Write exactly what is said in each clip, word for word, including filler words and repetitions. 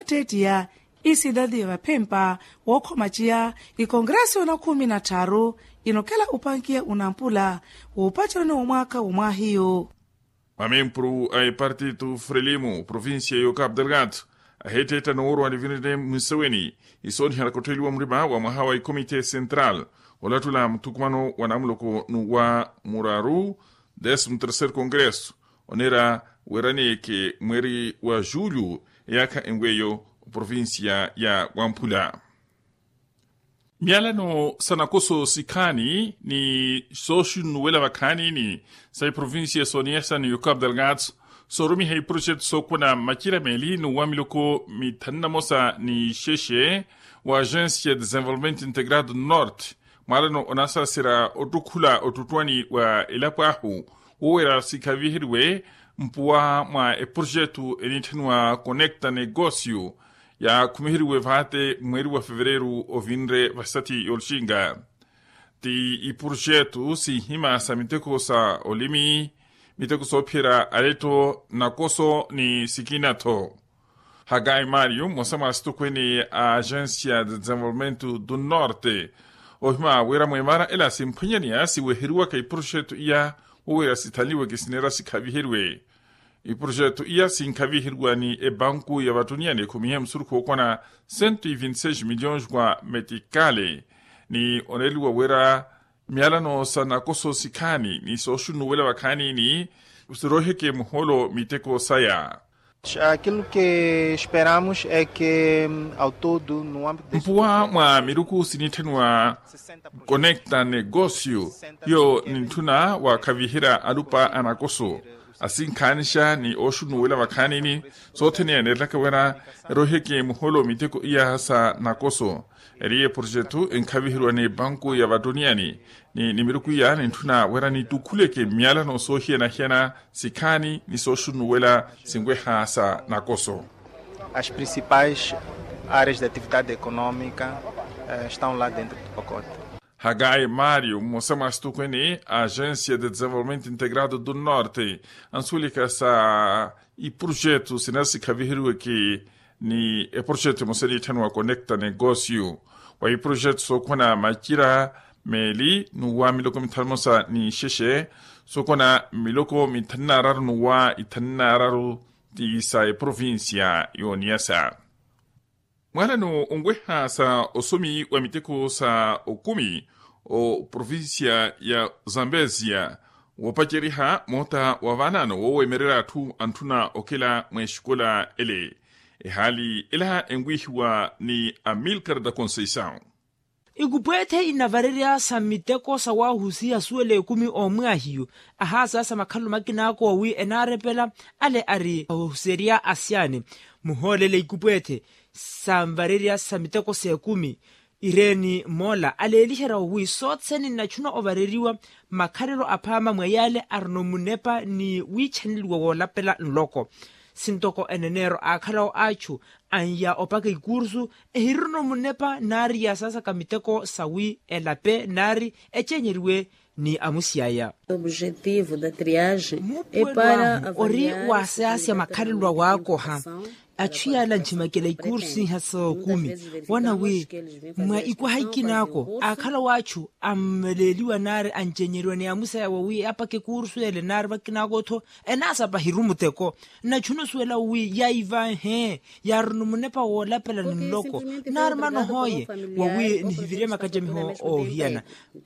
Ttettiya isidadi ya vaphempa wookhoma ciya ikongreso na khumi na tthaaru inokela upankiya unampula woopaceroni wa mwaakha wa mwaahiyu. Mamempuru a epartitu frelimu provincia yo capu delgado ahetteetta noworwa nivinene mwiseweni isooniha nakottheliwa murima wa mwaha wa ikomite central olattula muthukumano wa namuloko nuwa muraru décimo terceiro congresso onera weraneke mweri wa julho eyaakha enweyo provincia ya wamphula. Myalano sa nakoso sikhaani ni sooxunnuwela vakhaanini sa iprovincia sooniyesa ni yukapu delgado soorumiha iprojetu sookhuna macira meeli n'uwa miloko mithanu na mosa ni xexe wa agencia desenvolvimento integrado norte mwalano onasaasira ottukhula ottuttwani wa elapo ahu woowira sikhaviheriwe mpuwa mwa eprojetu enitthaniwa conecta negosio yaakhumiheriwe vaate mweeri wa fevereru ovinre vasati yoluxinga. Ti iprojetu sinhima sa miteko sa olimi miteko soophiyerya aletto nakoso ni sikina-tho. Hagai mario mmosa mwa asitokweni a agencia de desenvolvimento do norte ohima wira mweemara ela simphwanyaneya siweheriwaka iprojetu iya woowira sithanliweke sineera sikhaviheriwe. Iprojetu iya sinkhaviheriwa ni ebanku ya vatuniya ni ekhumihe musurukhu wookwana cento e vinte seis milhões wa metikale ni oneeliwa wira myalano sa nakoso sikhaani ni sooxunnuwela vakhaanini siroiheke muholo miteko saya. Aquilo que esperamos é que ao todo no âmbito mpuwa mwa miruku sinitthaniwa conecta negosio hiyo nintthuna wakhaviherya alupa a nakoso asinkhanixa ni ooxunnuwela vakhaanini soothene yaneerelaka wira eroiheke muholo miteko iya sa nakoso. Eri eprojetu enkhaviheriwa ni banku ya vatuniyani ni miruku iya nintthuna wira nitukhuleke myalano soohiyana-hiyana sikhaani ni sooxunnuwela sinweha sa nakoso. As principais áreas de atividade económica estão lá dentro do pacote. Hagai mario mmosa mwa asitokweni a agencia de desenvolvimento integrado do norte ansuwelaka sa iprojetu sina sikhaviheriweke ni eprojetu emosa enitthaniwa conecta negosio wa iprojetu sookhwana macira meeli n'uwa miloko mithanu na mosa ni xexe sookhwana miloko mithanu na araru n'uwa ithanu na araru ti sa eprovincia yooniyasa. Mwalano onweha sa osomi wa miteko sa okumi oprovincia ya zambezia woopaceriha moota wa vaanaano woowemererya atthu antthuna okela mweexikola ele. Ehaali ela enwiihiwa ni amilcar da conceição. Ikupweethe inavarerya sa miteko sawahusiha suwela ekumi omwaahiyu ahaasaya sa makhalelo makinaako wawi enaarepela ale ari ohuserya asyaani muhoolele ikupweethe sanvarerya sa miteko s'ekumi ireeni moola aleeliherya wawi sothene nnachuna ovareriwa makhalelo aphaama mwa yaale arina omunepa ni wiichaneliwa woolapela nloko. Sintoko eneneero aakhalawo achu anya opaka ikursu ehirina omunepa naari yaasasaka miteko sawi elape naari ecenyeriwe ni amusiyaya. Mupuwelo ahu ori waasayasya makhalelo awaakoha. Achu yaala nthimakela ikursu siiha sookumi woona wi mwa ikwaha ikinaako aakhalawo achu anveleeliwa naari ancenyeriwa ni amusiyaya wawi apaka ikursu ele naari vakinaako-tho enaasapa hiru muteko. Nnachuna osuwela wi yaivahe yaarina omunepa woolapela ni nloko naari manohoye wawi nihivirye makacamiho oohiyana.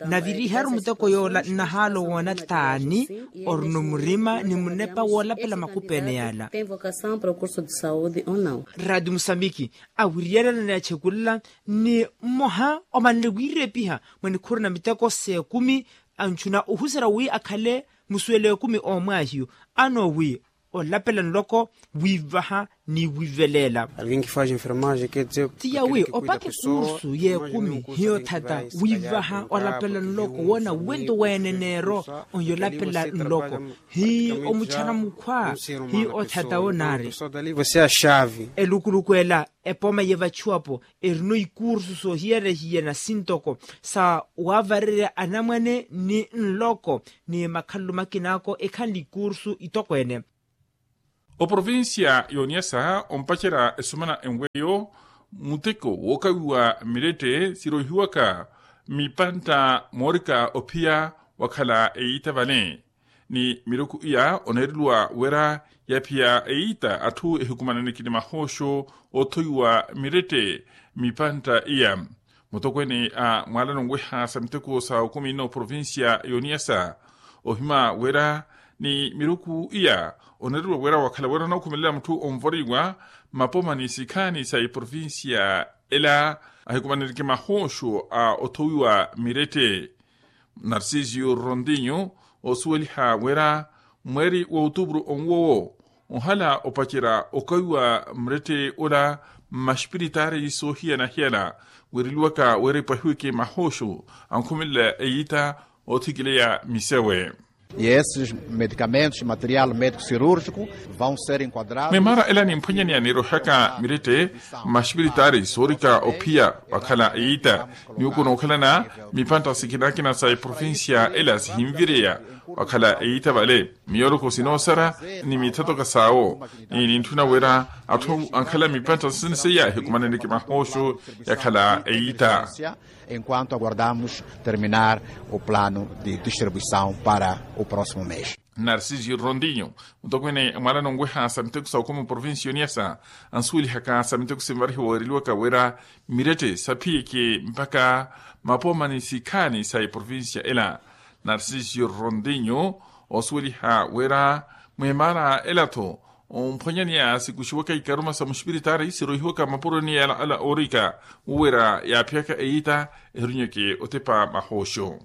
Naviriharu muteko yoola nnahaala owoona taani orina omurima ni munepa woolapela makupeene yaala. Radi musambiki awiriyana ni achekulela ni mmoha omanle wiirepiha mwa nikhuru na miteko s'ekumi anchuna ohuserya wi akhale musuwelo ekumi omwaahiyu ano wi olapela nloko wiivaha ni wiiveleela. Ti yawi opaka ekursu y'ekumi hiyo thata wiivaha olapela nloko woona wento weeneneero onyolapela nloko hi omuchana mukhwa hi othata wo naari. Elukuluku ela epooma yeevachiwapo erino ikursu soohiyana-hiyana sintoko sa waavarerya anamwane ni nloko ni makhalelo makinaako ekhanle ikursu itokweene. Oprovincia y'oniyasa ompacerya esumana enweyo muteko wookawiwa mirette siroihiwaka mipantta moorika ophiya wakhala eyiita vale. Ni miruku iya oneereliwa wira yaphiya eyiita atthu ehikumananeke ni mahooxo oothowiwa mirette mipantta iya. Mutokweene a mwaalano nweha sa miteko sa okumi n'oprovincia y'oniyasa ohima wira ni miruku iya oneeriwa wira wakhala wira onookhumelela mutthu onvoriwa mmapoma ni sikhaani sa eprovincia ela ahikumananeke mahooxo a othowiwa mirette. Narcisio rondinho osuweliha wira mweeri wa otupuru onwowo ohala opacerya okawiwa murette ola mmaxipiritaari soohiyana-hiyana. Wiireliwaka wira epwahiweke mahooxo ankhumelela eyiita oothikileya misewe. E esses medicamentos material médico cirúrgico vão ser enquadrados. Memaara ela nimphwanyaneya nirohaka mirette mmaxipiritaari soorika ophiya wakhala eyiita ni oku nookhalana mipantta sikina-kina sa eprovincia ela sihinvireya wakhala eyiita vale. Miyooloko sinoosara ni mithatoka saawo ni nintthuna wira atthu ankhala mipantta sisini seiya ehikumananeke mahooxo yakhala eyiita. Enquanto aguardamos terminar o plano de distribuição para o próximo mês. Narcisio rondinho mutokweene mwaalano nweha sa miteko sa okumi oprovincia y'oniyasa ansuwelihaka sa miteko sinvarihiwa weereliwaka wira mirette saphiyeke mpakha mapoma ni sikhaani sa eprovincia ela. Narcisio rondinho osuweliha wira mweemaara ela-tho omphwanyaneya sikuxiwaka ikaruma sa muxipiritaari siroihiwaka mmapuroni ala oorika wira yaaphiyaka eyiita ehirunyeke otepa mahooxo.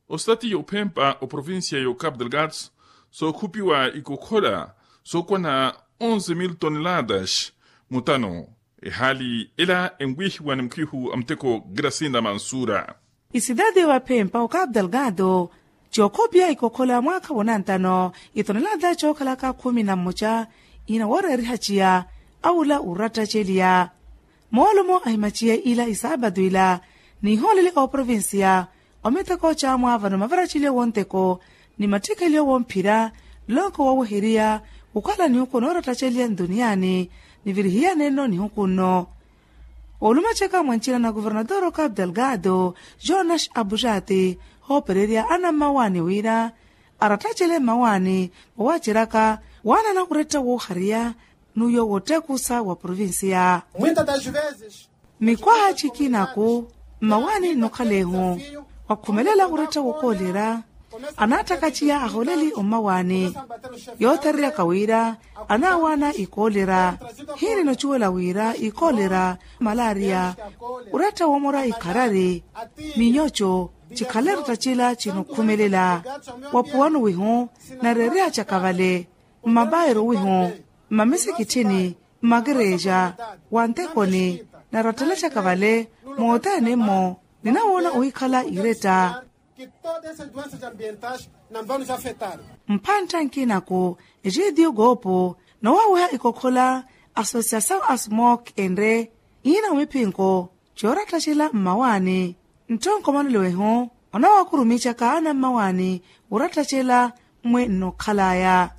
Ositati y'ophempa oprovincia y'ocapo delgado sookhupiwa ikokhola sookwana onze mil toneladas mutano. Ehaali ela enwiihiwa ni mukhihu a muteko grasinda mansura. Isidadi y'ovaphempa ocapo delgado cookhupiwa ikokhola mwaakha wonantano itonelaada cookhalaka khumi na mmoca ina wooreeriha ciya awula urattaceliya. Moolumo ahimaciye ila isaapatu ila nihooleli ooprovincia omiteko caamwaavano mavaraceliyo wonteko ni mattikeliyo womphira lonko wooweheriya wukhala nihuku noorattaceliya ntuniyani nivirihiyanenno nihuku nno. Olumacaka mwa ncina na kuvernatoro capo delgado jonas abujati hoopererya ana mmawaani wira arattacele mmawaani wawaaceraka waanana uretta woohariya n'uyo woottekusa wa provincia. Mikwaha cikinaku mmawaani nnokhala ehu wakhumelela uretta wookoolera anaattaka ciya ahooleli ommawaani yoothereryaka wira anaawaana ikoolera. Hiini nocuwela wira ikoolera malaria uretta woomora ikharari minyoco cikhale rattacela cinokhumelela waphuwano wihu nareereya caka vale mmabairu wihu mmamisikitthini mmakerexa wa ntekoni narattela caka vale moothene-mmo ninawoona ohikhala iretta. Mphantta nkinaku etidiu koopo nowaaweha ikokhola asosiasaw asmok enre iina omiphinko coorattacela mmawaani ntthonko manelo ehu onawaakurumicaka ana mmawaani wurattacela mmwe nnokhalaya.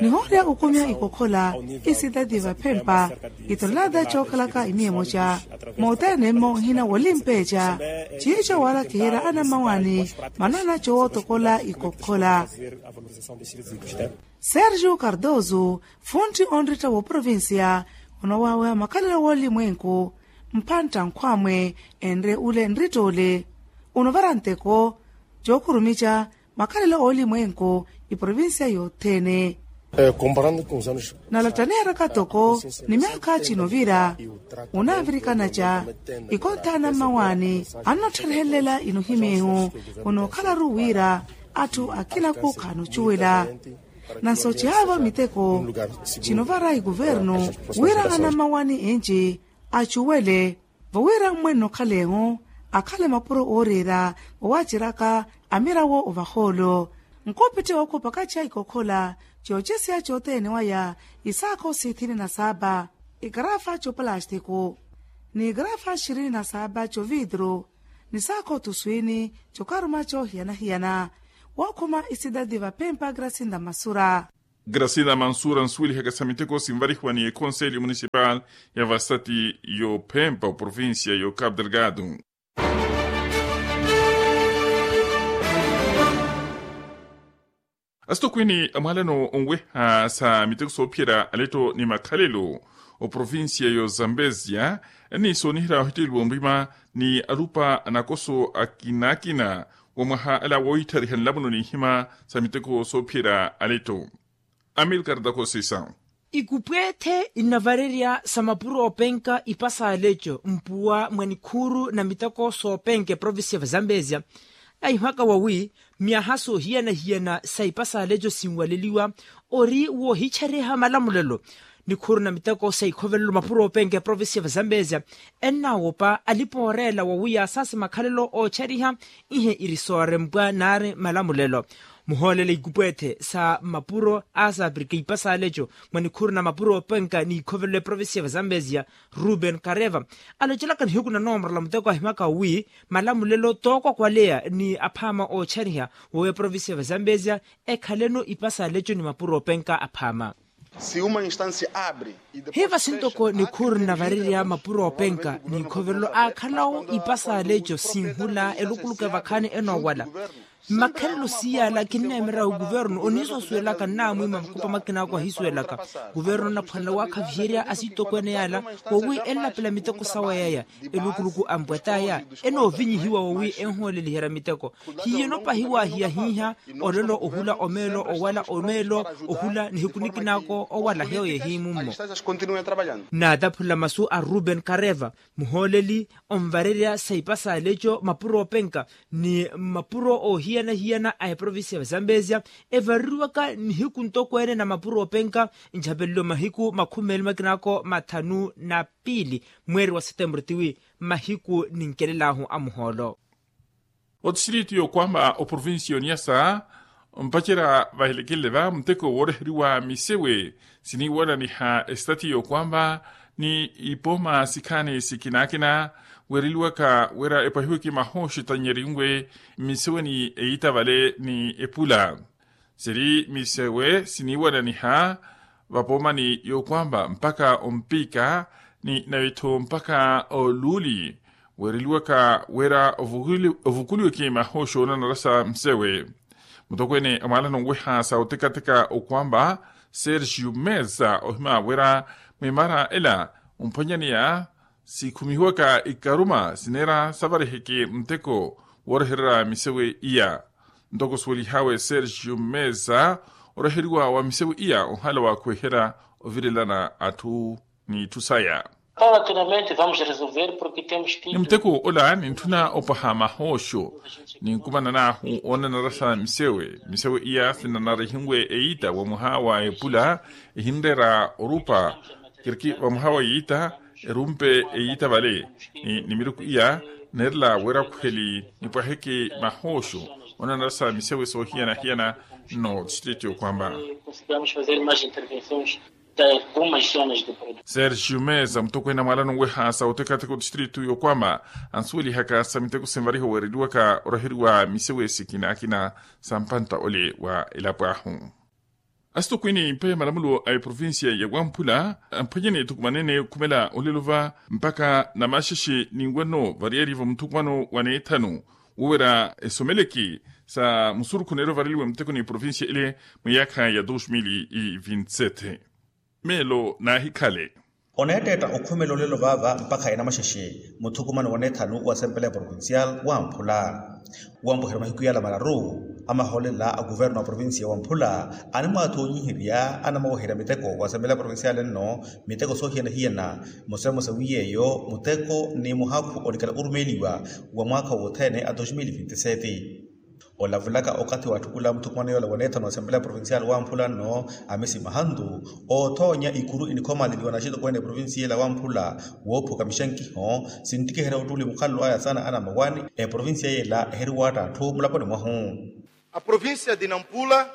Nihoorya okumiha ikokhola isitati vaphempa itonelaata cookhalaka imiya emoca moothene mmo nhina wolimpeeca ciico waalakiherya ana mmawaani manana cowootokola ikokhola. Sergio cardoso funtti onritta wooprovincia onowaaweha makhalelo woolimwenku mphantta nkhwamwe enre ule nrittoole onovara nteko cookhurumicca makhalelo oolimwenku iprovincia yothene. Nalattaniheraka toko ni myaakha cinovira onaavirikanaca ikonthaana mmawaani annottherehelelela inohimyehu onookhalaru wira atthu akinaku khaanocuwela nanso cihaavo miteko cinovara ikuvernu wira ana mmawaani enci acuwele vowira mmwe nnokhala ehu akhale mapuro ooreera vowaaceraka amirawo ovahoolo nkupitte wookhupaka ciya ikokhola cooceseya coothene waya isaakho sithini na saapa ikarafa coopalastiku ni ikarafa xirini na saapa covitru ni saakho tuswini cokaruma coohiyana-hiyana wookhuma isidadi vaphempa grasinda masura. Gracila mansura nsuwelihaka sa miteko sinvarihiwa ni ekonselyo munisipal ya vasati y'ophempa oprovincia y'ocapo delgado. Asitokwini amwaalano onweha sa miteko soophiyerya aletto ni makhalelo oprovincia y'ozambezia ennisooniherya ohitteleliwa onrima ni alupa anakoso akina akina wa mwaha ala woohitthariha nlamuno n'ihima sa miteko soophiyerya aletto. Amilcar da kosisa. Ikupweethe innavarerya sa mapuro oopenka ipasa aleco mpuwa mwa nikhuuru na miteko soopenka eprovincia vazambezia ahimaka wawi myaha soohiyana-hiyana sa ipasa aleco sinwaleliwa ori woohichereha malamulelo. Nikhuuru na miteko sa ikhovelelo mapuro oopenka eprovincia vazambezia ennaawopa alipa ooreela wawi yaasaase makhalelo oocheriha ihe iri soorempwa naari malamulelo. Muhoolele ikupweethe sa mapuro aasapirika ipasa aleco mwa nikhuuru na mapuro oopenka ni ikhovelelo eprovincia vazambezia ruben kareva alocelaka nihiku na noomorola muteko ahimaka wi malamulelo tookwakwaleya ni aphaama oochariha wowi eprovincia vazambezia ekhaleno ipasa aleco ni mapuro oopenka aphaama. Hi vasintoko nikhuuru nnavarerya mapuro oopenka ni ikhovelelo aakhalawo ipasa aleco sinhula elukuluku evakhaani enoowala. Mmakhalelo siyaala kinneemera okuvernu oniisuwasuwelaka nnaamwiima makupa makina ako ahisuwelaka. Okuvernu anaphwanela waakhaviherya asitokweene yaala wowi enlapela miteko sawa yaya elukuluku ampwataya enoovinyihiwa wowi enhooleliherya miteko. Hiyo enopahiwa hiyahiiha olelo ohula omeelo owala omeelo ohula nihiku nikina ako owala heyo yehiimummo. Naataphula masu a ruben kareva muhooleli onvarerya sa ipasa aleco mapuro oopenka ni mapuro oohiyana-hiyana a eprovincia vazambezia evareriwaka nihiku ntokweene na mapuro oopenka nchapelelo mahiku makhumi meeli makina ako mathanu na piili mweeri wa setemburu tiwi mahiku ninkelel'ahu a muhoolo. Otistiritu y'okwamba oprovincia y'oniyasa mpacerya vahelekelele va muteko wooreheriwa misewe siniiwananiha esitati y'okwamba ni ipooma sikhaani sikinaakina weereliwaka wira epwahiweke mahooxi tannyerinwe mmiseweni eyiita vale ni epula. Siri misewe siniiwananiha vapoomani y'okwamba mpakha ompiika ni nawe-tho mpakha oluuli weereliwaka wira ovukuliweke mahooxi oonanarasa msewe. Mutokweene amwaalana onweha sa otekateka okwamba sergio mesa ohima wira mwimaara ela omphwanyaneya sikhumihiwaka ikaruma sineera savariheke muteko woorehererya misewe iya. Ntoko suwelihawe sergio mesa oreheriwa wa misewe iya ohala waakhuweherya ovirelana atthu n'itthu saya. Ni muteko ola nintthuna opwaha mahooxo ninkumanan'ahu oonanarasa misewe misewe iya sinanarihinwe eyiita wa mwaha wa epula ehinreera orupa kiriki va mwaha wa yiita erumpe eyiita vale ni nimiruku iya neerela wira khuheli nipwaheke mahooxo onanarasa misewe soohiyana-hiyana. Nno tistiritu y'okwamba sergio mesa mutokweene amwaalana onweha sa otekateka otistiritu y'okwamba ansuwelihaka sa miteko sinvariha weereliwaka oraheriwa misewe sikinaakina sa mpantta ole wa elapo ahu. Asitokwini mpe malamulo a eprovincia ya wamphula amphwanyane ethukumanene okhumela olelova mpakha namaxexe ninwano variyari va muthukumano wa neethanu wowerya esomeleki sa musurukhu neeryo vareliwe muteko ni eprovincia ile mwiyaakha ya dos mil e vintisete. Meelo naahikhale oneetteetta okhumela olelo vaava mpakha enamaxexe muthukumano wa neethanu wa asempela provincial wamphula. Wampuherya mahiku yala mararu amahoolela a kuverno a provincia wamphula animwaathoonyiherya anamaweherya miteko wa asempela provincial nno miteko soohiyana-hiyana musemusewi yeeyo muteko ni muhakhu olikala orumeeliwa wa mwaakha wothene a dos mil vintisete. Olavulaka okathi wa atthukula muthukumano yoola wa neethano wa asempela provincial wamphula nno amisi mahantu oothoonya ikuru enikhomaleliwa na axitokweene eprovincia yeela wamphula woophuka mixankiho sinttikiherya ottuuli mukhalelo aya saana anamawani eprovincia yeela eheriwaatta atthu mulaponi mwahu. A província de Nampula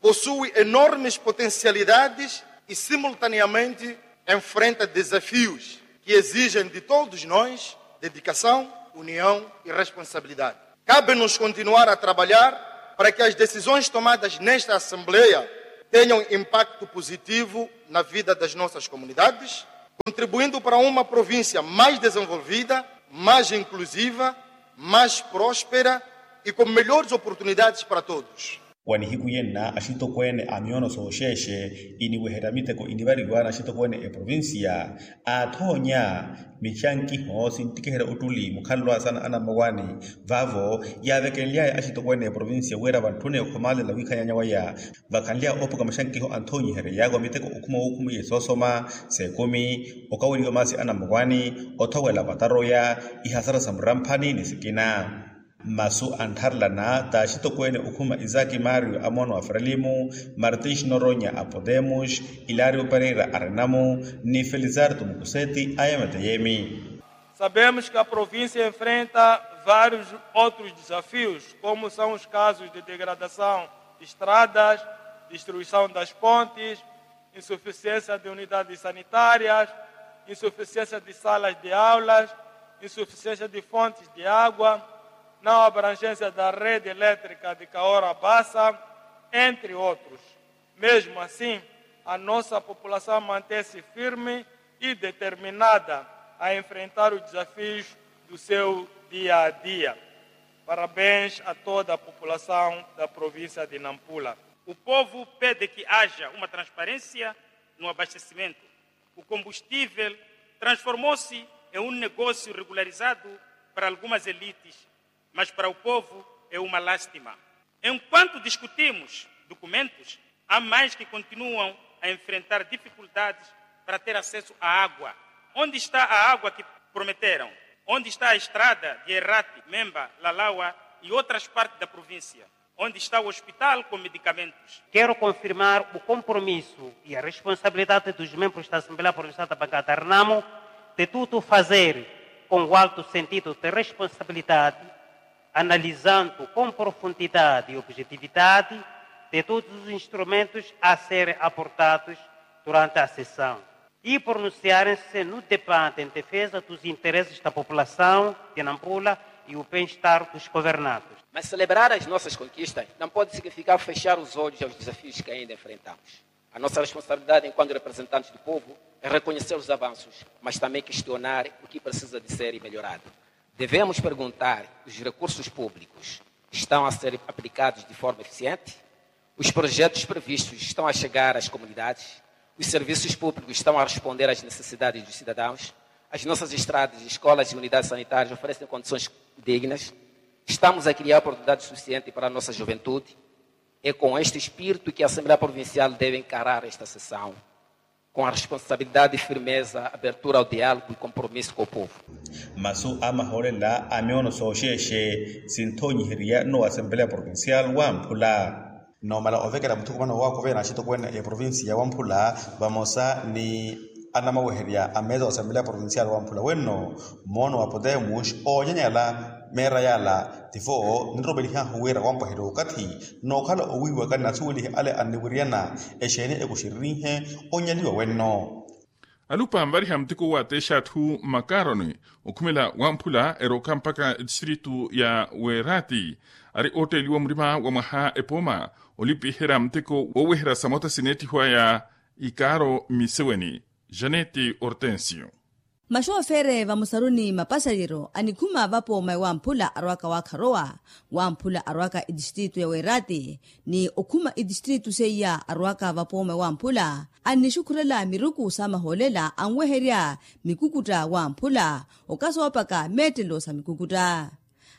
possui enormes potencialidades e simultaneamente enfrenta desafios que exigem de todos nós dedicação, união e responsabilidade. Cabe-nos continuar a trabalhar para que as decisões tomadas nesta Assembleia tenham impacto positivo na vida das nossas comunidades, contribuindo para uma província mais desenvolvida, mais inclusiva, mais próspera e com melhores oportunidades para todos. Wa nihiku yenna axitokweene a miyoono sooxeexe iniweherya miteko inivariwa na axitokweene eprovincia aathoonya mixankiho sinttikiherya ottuli mukhalelo a sana anamowani. Vaavo yaavekenly'aya axitokweene eprovincia wira vantthune okhomaalela wiikhanyaanya waya vakhanly'aya oopuka maxankiho anthoonyiherya yaakuwa miteko okhuma wookhuma iye soosoma seekumi okaweliwa maasi anamowani othowela vataroya ihasara sa muramphani ni sikina. Masu anttharelana t'axitokweene okhuma isaki mario a moono a frelimu martins noronya a podemos ilario pereira a renamu ni felizarto mukuseti a yemete yemi. Sabemos que a província enfrenta vários outros desafios, como são os casos de degradação de estradas, destruição das pontes, insuficiência de unidades sanitárias, insuficiência de salas de aulas, insuficiência de fontes de água, não abrangência da rede elétrica de Kaora Bassa, entre outros. Mesmo assim, a nossa população mantém-se firme e determinada a enfrentar os desafios do seu dia a dia. Parabéns a toda a população da província de Nampula. O povo pede que haja uma transparência no abastecimento. O combustível transformou-se em um negócio regularizado para algumas elites, mas para o povo é uma lástima. Enquanto discutimos documentos, há mais que continuam a enfrentar dificuldades para ter acesso à água. Onde está a água que prometeram? Onde está a estrada de Errate, Memba, Lalawa e outras partes da província? Onde está o hospital com medicamentos? Quero confirmar o compromisso e a responsabilidade dos membros da Assembleia Provincial da Bancada Renamo de tudo fazer com o alto sentido de responsabilidade, analisando com profundidade e objetividade de todos os instrumentos a serem abordados durante a sessão e pronunciarem-se no debate em defesa dos interesses da população de Nampula e o bem-estar dos governados. Mas celebrar as nossas conquistas não pode significar fechar os olhos aos desafios que ainda enfrentamos. A nossa responsabilidade enquanto representantes do povo é reconhecer os avanços, mas também questionar o que precisa de ser melhorado. Devemos perguntar: os recursos públicos estão a ser aplicados de forma eficiente? Os projetos previstos estão a chegar às comunidades? Os serviços públicos estão a responder às necessidades dos cidadãos? As nossas estradas, escolas e unidades sanitárias oferecem condições dignas? Estamos a criar oportunidade suficiente para a nossa juventude? É com este espírito que a Assembleia Provincial deve encarar esta sessão, com a responsabilidade e firmeza, abertura ao diálogo e compromisso com o povo. Masu a mahoolela a miyoono sooxeexe sinthoonyiherya n'owa asembeleya provincial wamphula. Noomala ovekela muthukumano woowakuveya na axitokweene a eprovincia ya wamphula vamosa ni anamaweherya a meeza wa asembeleya provincial wamphula wenno, moono wa potemus oonyanyala meera yaala tivo ninromelihaahu wira wampwaherya okathi nookhala owiiwaka ni asuwelihe ale anniwiriyana exeeni ekuxiririnhe onyaliwa wenno. Alupa anvariha muteko wateexa atthu makaaroni okhumela wamphula erooka mpakha etistritu ya weerati ari ootteeliwa murima wa mwaha epooma olipiherya muteko wooweherya samota sineettihwaya ikaaro mmiseweni. Janeti ortensio. Maxoofere vamusaruni mapasalyeryo anikhuma vapooma ewamphula arwaka waakharowa wamphula arwaka etistritu ya weerati ni okhuma etistritu seiya arwaka vapooma ewamphula annixukhurela miruku sa mahoolela anweherya mikukutta wamphula okasoopaka meettelo sa mikukutta.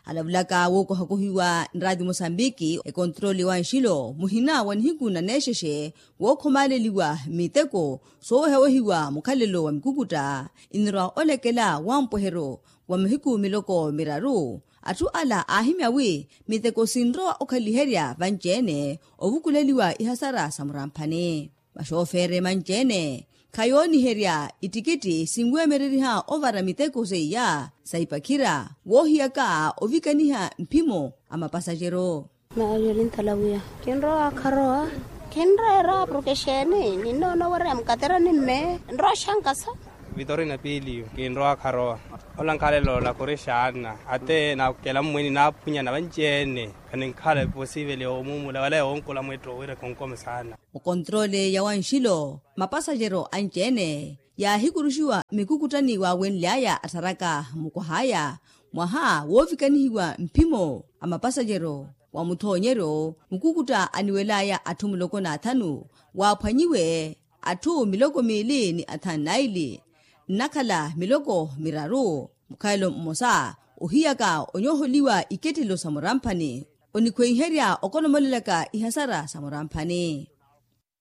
Alavulaka wookohakohiwa nraati mosambiki ekontroli wa nxilo muhina wa nihiku na neexexe wookhomaaleliwa miteko soowehawehiwa mukhalelo wa mikukutta inirwa olekela wampweheryo wa mihiku miloko miraru. Atthu ala aahimya wi miteko sinrowa okhaliherya vanci-ene ovukuleliwa ihasara sa muramphani. Maxoofere manci-ene khayooniherya ittikitti sinweemereriha ovara miteko seiya sa ipakhira woohiyaka ovikaniha mphimo a mapasaxero. Mario lintalawiya kinrowa kharowa kinreera porke xeeni ninnoona owereya mukatera nimme nrowa xankasa. Vitorina piiliyo kinrowa kharowa. Ola nkhalelo lakhurishaana ate nakela mmweni naaphunyana vanci-ene. Khaninkhala eposiveli yoomumula wala yoonkola mwetto wira khonkomo saana. Okontroole ya wanxilo mapasajero anci-ene yaahikuruxiwa mikukuttani waawenly'aya attharaka mukwah'aya mwaha woovikanihiwa mphimo a mapasajero wa muthoonyeryo mukukutta aniwel'aya atthu muloko n'athanu waaphwanyiwe atthu miloko miili ni athanu naili nnakhala miloko miraru mukhalelo mmosa ohiyaka onyooholiwa ikettelo sa muramphani onikhweiherya okonomolelaka ihasara sa muramphani.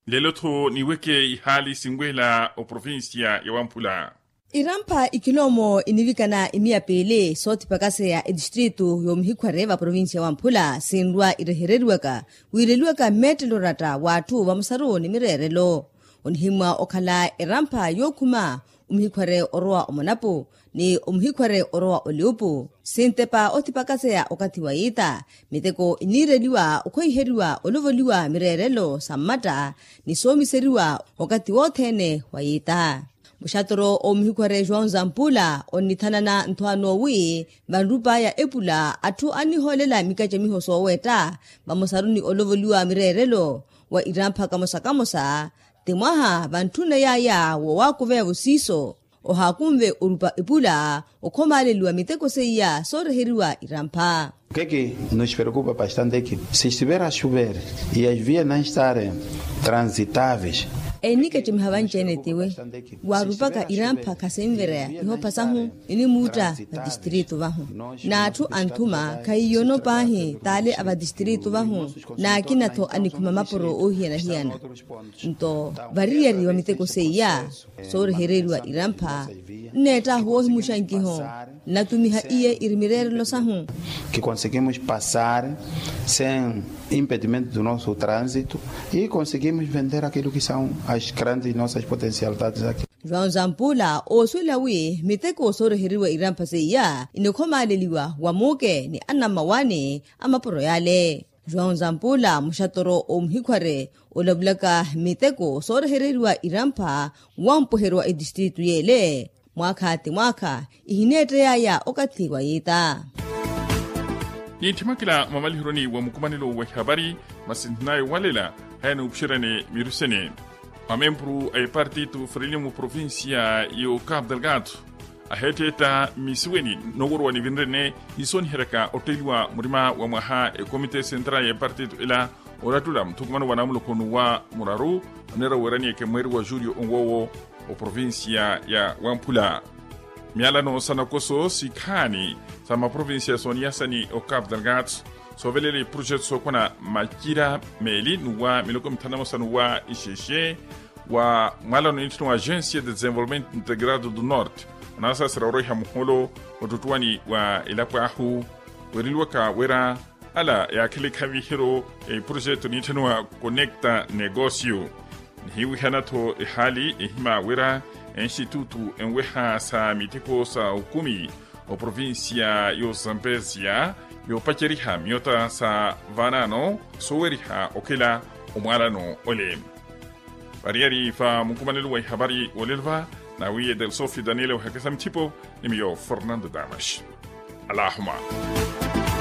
Lelo-tho niweke ihaali sinweela oprovincia ya wamphula. Irampha ikiloomo inivikana imiya piili soothipakaseya etistritu yoomuhikhware va provincia ya wamphula sinrwa irehereriwaka wiireliwaka mmeettelo oratta w'atthu vamosaru ni mireerelo. Onihimmwa okhala erampha yookhuma omuhikhware orowa omonapu ni omuhikhware orowa oliupu sintepa othipakaseya okathi wa yiita miteko iniireliwa okhweiheriwa olovoliwa mireerelo sa mmatta ni soomiseriwa okathi wothene wa yiita. Muxatoro omuhikhware joão zampula onnithanana nthwaano wi vanrup'aya epula atthu annihoolela mikacamiho soowetta vamosaru ni olovoliwa mireerelo wa irampha kamosa kamosa ti mwaha vantthunne yaya woowakuveya vosiiso ohaakunve orupa epula okhomaaleliwa miteko seiya sooreheriwa irampha. Keki nos preocupa bastante ki si estiver a chover e as vias não estarem transitáveis. Enikacemiha vanci-ene tiwe waarupaka irampha khasinvereya ihopha sahu inimuutta vatistritu vahu n'atthu anthuma khahiyono paahi taale a vatistritu vahu n'akina-tho anikhuma mapuro oohiyana-hiyana. Nto variyari wa miteko seiya soorehereriwa irampha nneett'ahu woohimuxa nkiho nnatumiha iye iri mireerelo sahu. Que conseguimos passar sem impedimento do nosso trânsito e conseguimos vender aquilo que são as grandes nossas potencialidades aqui. João zampula oosuwela wi miteko sooreheriwa irampha seiya inikhomaaleliwa wa muuke ni anammawaani a mapuro yale. João zampula muxatoro omuhikhware olavulaka miteko soorehereriwa irampha wampweheryo wa etistritu yeele mwaakha ti mwaakha ihineettey'aya okathi wa yiita. Nintthimwakela mwamalihironi wa mukumanelo wa ihavari masinthinayo walela haya nuupuxeryani mirusene. Mamempuru a epartitu frelimo provincia yo cabo delgado aheetteetta mmisiweni nooworowa nivinrene nisooniheryaka otteeliwa murima wa mwaha ekomite central ya epartitu ela orattula muthukumano wa naamuloko nuwa muraru oneera weeraniye kemweeri wa julio onwoowo oprovincia ya wamphula. Myalano sa nakoso sikhaani sa maprovincia sooniyasani o cabo delgado soovelela iprojeto sookwana macira meeli nuwa miloko mithanu na mosa nuwa ixexe wa mwalano nitthino wa agência de desenvolvimento integrado do norte onaasasera oroiha muholo ottuttuwani wa elapo ahu weereliwaka wira ala yaakhela ekhaviheryo ya iprojeto nitthino wa conecta negocio. Nihiwihana-tho ehaali ehima wira enxitutu enweha sa miteko sa okumi oprovincia yo zambezia yoopaceriha miyota sa vaanaano sooweriha okhela omwaalano ole. Variyari va mukumanelo wa ihavari wolelo va nawiye delsofio daniele ohekesa mithipo ni miyo fernando damas. Alahuma.